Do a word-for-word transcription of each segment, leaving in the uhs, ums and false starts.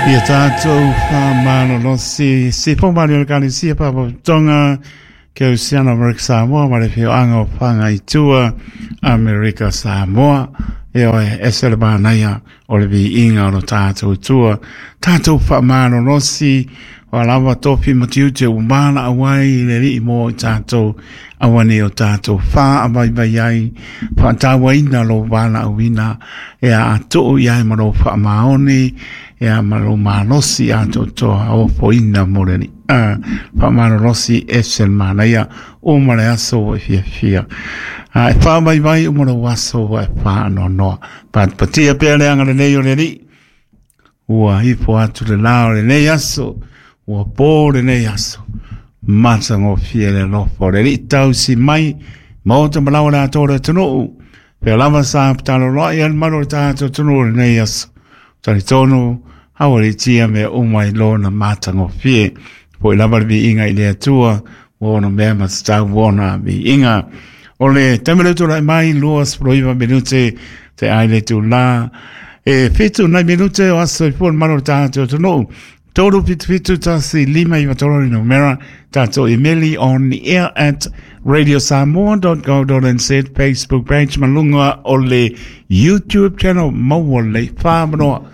Ia tātou whamalolosi, si pōmari o le Kalesia Papatonga, ke Usiana Amerika Samoa, ma le whioanga o Whangaitua, Amerika Samoa. E oe, ese le mānaia o le viinga o lo tātou tua. Tātou whamalolosi, wa lava tofi matiute u mana awai le lii mo i tātou awane o tātou wha awai vai ai whaatawaina lo wala awina e a atu i ai ma lo wha maoni e a ma lo malosi a totoa o poina mo le a whamalolosi e se manaia o mare aso e fia fia. A e wha mai vai o maro aso e wha no noa. Patia pea le anga le nei o le lii. Ua ipo atu le lao le nei aso. Ua pō le nei aso. Mata ngō le lofo. Le li tau si mai. Maota malawa le atō tunu. Pea lava sa patalo loa i al maro le tātou tunu le nei aso. Tari tonu, hawa le tia me umai lona mata ngō fie. Po i lava le vi inga i le atua. Ua mea matatau wona vi inga. O le tamele tūrai mai lua sproiva minute te aile tū la. E fitu nai minute o aso i pua maro le tātou tunu. Toru fitu fitu tasi lima iwa toro ni numera tātou emeli on the air at radio samoa dot co dot n z Facebook page malunga o le YouTube channel maua le whamanoa.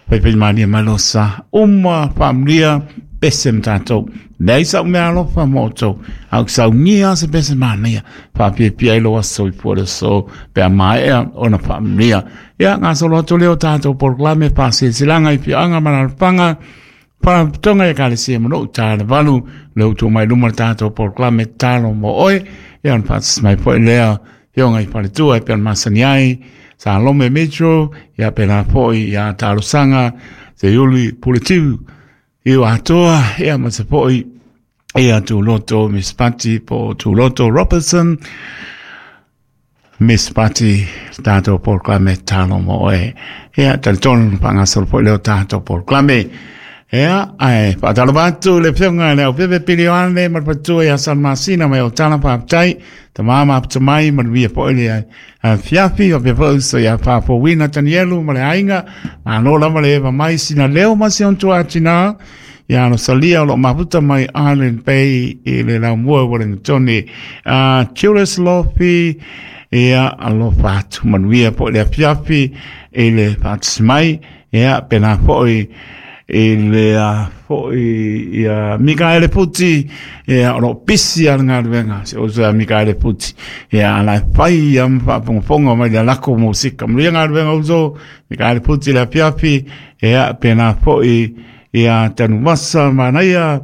Paipai mania malosa uma whamria pese mtatou. Nei sa umea alofa moto. Au sau ngia se pese mania. Whapia pia ilo aso i pua so pea maea ona whamria. Ia ngā solo atu leo tātou porklame pāse silanga i pianga manarpanga. Wharatonga e kalesia mano tāle valu le utu mai luma tātou porklame tālo mo oe. Ia on pātis mai poe lea fionga i paletua e pean masani ai. Sa lome metro ia pena poe ia tālosanga te uli puletiu. I atoa ia ma te poe ia tūloto Miss Patti po tūloto Robertson. Miss Patti tātou porklame tālo mo oe. Ia talitonu pangasolo poe leo tātou porklame. Ea, ai, whaatalabatu le whionga le au pepe pili oane, marpatua ia San Masina mai o tana pāptai, ta mama apta mai, manuia poe le a fiafi, o pepe uso ia whāpōwina Tanielu, ma le ainga, ma anō lava le eva mai, sina leo masi ontua atina, ia ano salia o lo maputa mai Island Bay, i le laumua Wellingtoni, uh, Julius Lofi, ia alofa atu, manuia poe le fiafi, i le whaatismai, ia pena poe, i le a foi ia Mikaele Puti ia o lo pisi a ngā ruenga se o se Mikaele Puti ia ala fai ia mfapongofongo mai le lako musika mluia ngā ruenga uso Mikaele Puti le piapi ia pena foi ia Tanumasa manaia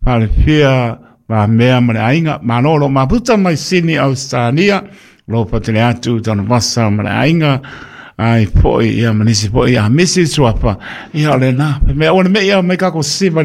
palefia ma mea ma le ainga manolo maputa mai Sini Australia lo patele atu Tanumasa ma le ainga ai foi ia manisi foi ia misi suapa ia le na me ona me ia me ka ko siva